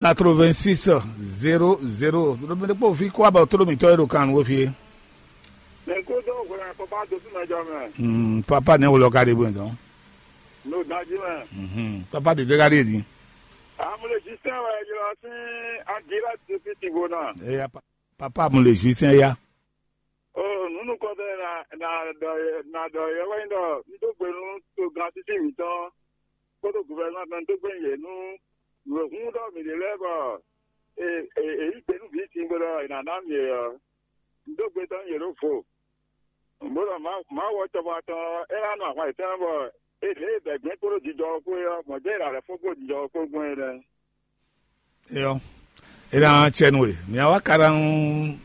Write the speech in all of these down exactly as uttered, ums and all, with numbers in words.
Quatre-vingt-six zéro zéro. Ɖo mi ɖokpó fi kó abɔ tló mǐtɔn e ɖo kan nǔ fí é. Mɛ kúdó hwɛ papa dó fún mɛ jɔ mɛ. Hmm, papa nɛ wòlɔ ka ɖe bɔ dɔn. N'o ganjí mɛ. Mhm. Papa de dega ɖe di. Amúlé sísẹ́ wɛ jọ sí Angela tó fi tìgbó náà. Eya pa- papa amúlé sísẹ́ ya. O nunu kɔtɛ na na dɔ na dɔ yɛ wɛ nyí ɖɔ n dó gbe nú togán títí mǐtɔn kpódó guvɛrɛnɔ tɔn n dó gbe yɛ nú nǔ e hún ɖɔ mǐ ɖe lɛ́ɛ bɔ è yí gbe nú vǐ sin bó ɖɔ è nǎ ná mì e ɔ́, n dó gbe tɔn yě ɖó vo. Bó ɖɔ Mawu ɔ́ cɔbɔ atɔn ɔ́, é ná nɔ ahwan yětɔn bɔ è lě e bɛ̌gbɛ́n kpódó jijɔ ɔ́ kpó é ɔ́, mɔ̌ jɛ́n è ɖǎ lɛ́ fó gbó jijɔ ɔ́ kpó gbɔn é nɛ́. Eyɔ, e na cɛ nu e mia wa karan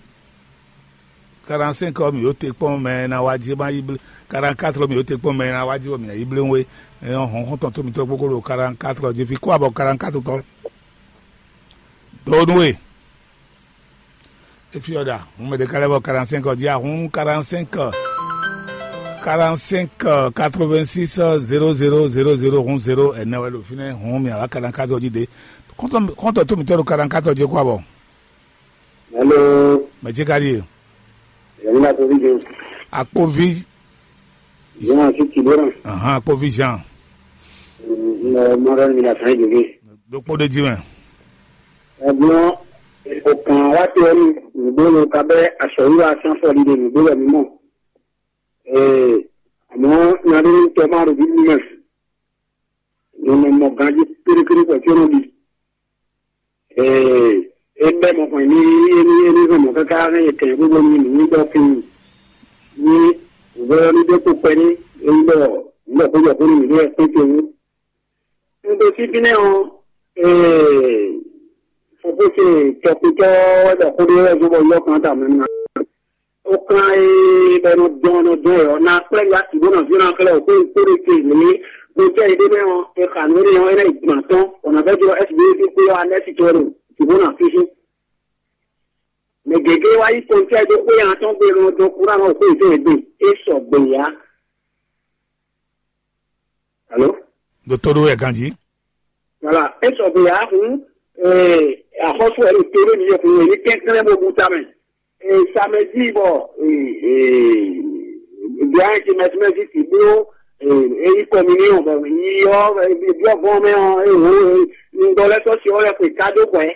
karan cinq ɔ mi yo te kpɔn mɛ na wa ji ma yi ble karan quatre mi yo te kpɔn mɛ na wa ji bɔ mi yi ble we. Eyɔ, hɔn hɔn tɔn to mi tɔ gbogbo ɖo karan quatre ɔ ji fi kó abɔ karan quatre tɔ. Do nu e efi ɔ da hun mɛ de kalɛ bɔ karan cinq ɔ ji ahun karan cinq karan cinq quatre-vingt-six zéro zéro zéro zéro hun zéro ɛnɛ wɛ ɖo fínɛ́ hun mi ala karan quatre ɔ ji de. Kɔntɔ kɔntɔ tó mi tɔ ɖo karan quatre ɔ ji kó abɔ. Hello. Mɛ ce ka ɖi e? Yɛmina ko vi jɛn. Akpovi. Jɛn a ti ti bɔ na. Ahan, akpovi Jean. Mɔ mɔ ɖɔ mi na fɛn jɛ. Ɖokpó ɖe ji mɛ. Ɛgbọn o kan wa te ɔnu nugbo lo ka bɛ asɔyi wa san fɔ ɖiɖe nugbo wɛ mi mɔ. Ee, àmọ́ nya ɖé ní tɔ ma ɖo bíbí mɛ. Nɔnɔ mɔ ganjí kéré kéré kɔ tí ó nɔ ɖi. Ee, é bɛ́ mɔ xɔn ní é ní é ní hɛn mɔ káká hɛn yɛ kɛn gbogbo ní nǔ ní ɖɔ kí ní vɔ́ ní ɖé kpó kpɛ́ ní é ní ɖɔ nǔ ɖɔ xó jɔ xó ní mǐ ɖé wɛ kpé ce wú. Un ɖo fínɛ́ ɔ́, ee, fofó ce tɔkutɔ́ wɛ ɖɔ xó ɖé wɛ zó bɔ yɔ kan ta mɛ ná. Ó kan e bɛ nɔ dɔn nɔ dɔn yɔ na kplɛ ya ti bó nɔ zé na kplɛ o ko ko de ke le ko tɛ yi de mɛ ɔ e xa no ne ɔ e na yi gbɔn atɔn o na bɛ jɔ S B A ko yɔ anɛ si tɔ do ti bó na fífí. Mɛ gɛgɛ wa yi kɔntɛ do ko ya atɔn gbe nɔ dɔn kura nɔ ko yi to egbe e sɔ gbe ya. Alo? Ɖo to ɖó wɛ ganjí. Voilà, e sɔ gbe ya hun eh, axɔ́sú ɛ ɖo to ɖé mi yɔkun e ní kɛnklɛ́n bó bú tamɛ. Eh, samedi bɔ eh, eh, bia ɛ ti mɛtimɛti ti bló eh, eyi communion bɔ yi ɔ biɔ vɔn mɛ ɔ ewo ŋgɔ lɛ sɔsi ɔ lɛ xwe kado kɔɛ.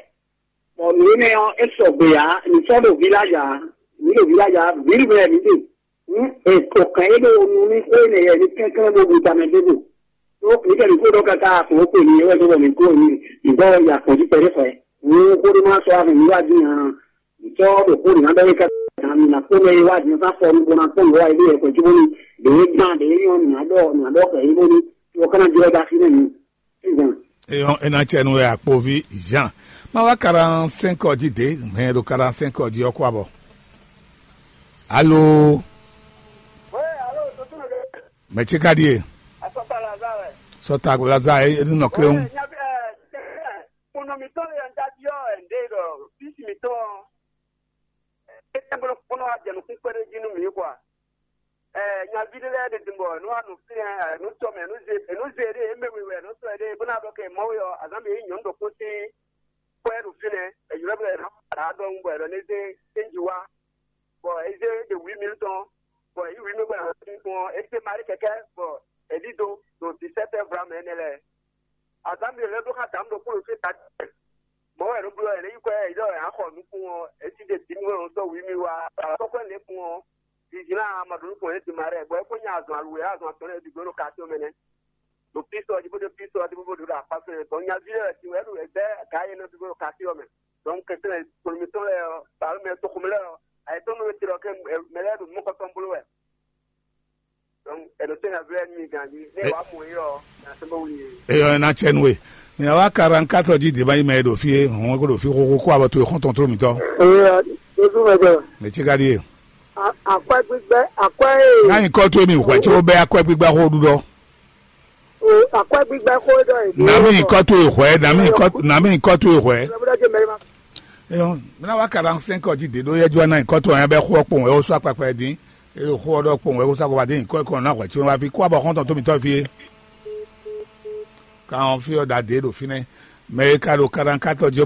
Bɔ nǔ énɛ́ ɔ́ é sɔgbe ǎ, mǐ sɔ́ ɖo village ǎ, mǐ ɖo village ǎ, ville mɛ mǐ ɖe. Hǔn è kɔ kɛn é ɖo nu ní xó énɛ́ yɛ ní kɛnklɛ́n bó ɖu tamɛ dó ɖo. Ɖó mǐ kɛ mǐ kó ɖɔ káká xo ó kpe mi é wɛ dó bɔ mǐ kó mi mǐ gbɔ ya kpɔ̌n jí kpɛɖé xwɛ. Hǔn xó ɖé má sɔ́ axi mǐ wá dín ǎ. Mǐ sɔ́ ɖo xó nǐ ná ɖɔ é káká mǐ ná kpɔ́n mɛ é wá dín fá fɔ nú bó ná kpɔ́n nǔ wá é ɖé yɛ kpɛ̌ jí bónú ɖě é gán ɖě é nyɔ́ mǐ ná ɖɔ mǐ ná ɖɔ xɛ é bónú tí wọ́n ká ná jlɔ́ dó así nɛ́ mi. Eyɔn, e na cɛ nu wɛ akpovi Jean. Ma wá quarante-cinq ɔ jí dě, mɛ ɖo quarante-cinq ɔ jí ɔ́ kó abɔ. Alo, mɛ ce ka ɖie? Sɔta Laza e nu nɔ kléwu. Kponɔ mitɔn le ɔn dadi ɔ ɛnde ɖɔ fisi mitɔn ɔ. Ete bolo kponɔ wa jɛ nukun kpɛɖe jí nú mi kwa. Ɛ nyaví ɖé lɛ́ɛ ɖe din bɔ nú wa nu fínɛ́ ɛ nú tɔ mɛ nú ze nú ze ɖé mɛ we wɛ nú tɔ ɖé bó ná ɖɔ kɛ mɔ we ɔ azán mi nyɔnu ɖokpó sín kpɔ́ ɛ ɖo fínɛ́ ɛ ylɔ́ bɔ ɛ ná fara ɖɔhun bɔ ɛ ɖɔ ní zé tɛ́nji wá bɔ ɛ zé ɖe wǐ mǐ tɔn bɔ ɛ yí wǐ mǐ bɔ ɛ ná fín gbɔn ɛ zé marí kɛkɛ bɔ ɛ ɖído ɖo disɛtɛ vlamɛ ɛnɛ lɛ́ɛ. Azǎn mǐ lɛ́ ɖó xá dǎmú ɖokpó ɖo fí ta. Mɔ̌ wɛ è nɔ bló ɛ lě yi kwɛ́ yi ɖɔ è nǎ xɔ nukún ɔ́, è sí ɖe bǐ nú wɛ è nɔ dɔ́ wǐ mì wá. Tɔ́kpɛ́ lě kún ɔ́, Zǐzí ná Amadu nukún yě ɖi ma ɖɛ, bɔ é kó nya azɔn aluwɛ azɔn atɔn lɛ́ɛ bǐ gbló ɖo kato mɛ nɛ́. Ɖo písɔ jí bó ɖo písɔ jí bó ɖo ɖo akpá fɛ́nɛ. Bɔ nyaví lɛ́ɛ wɛ sin wɛ ɖo ɛgbɛ́ gǎ yě nɔ bǐ gbló ɖo kato mɛ. Dɔn kɛntɛn kplɔnmitɔn lɛ́ɛ ɔ́, bǎlú mɛ toxomɛ lɛ́ɛ ɔ́, ayǐtɔ́ nɔ wɛ te ɖɔ kɛ mɛ lɛ́ɛ ɖo mɔkɔtɔn bló wɛ. Donc, ɛ ɖo tɛ́ nyaví lɛ́ɛ nú mi ganjí. Nú ɛ wǎ mɔ yě ɔ́, nya sɛ́n bó wlí yě. Eyɔ ɛ na cɛ nú we. Mɛ wa quarante-quatre jí dě ma yi mɛ e ɖo fí é, hɔn ko ɖo fí xóxó kó abɔ towe xɔ́ntɔn tló mǐtɔn. Ee, Jesu mɛ gbɛ. Mɛ ce ka ɖíe. Akwɛ gbígbɛ, akwɛ ee. Ná nyǐkɔ towe mi hwɛ tso bɛ akwɛ gbígbɛ xó ɖuɖɔ. O akwɛ gbígbɛ xó ɖɔ yìí. Nà mí nyǐkɔ towe hwɛ, nà mí nyǐkɔ towe hwɛ. Eyɔ, mina wa quarante-cinq ɔ jí dě ɖó yɛ jɔ ná nyǐkɔ towe ɔ́ bɛ xó ɔ kpowun wɛ ó sɔ́ akpakpa ɛ dín. Eye xó ɔ́ ɖɔ kpowun wɛ ó sɔ́ akpakpa dín nyǐkɔ ɛ kɔn ná hwɛ tso wá fi kó abɔ xɔ́ntɔn tó mǐtɔn fí é. Kan ɔ́ fí ɔ́ ɖa dě ɖo fínɛ́. Mɛ e ka ɖo kaɖankátɔ jí ɔ́ bɔ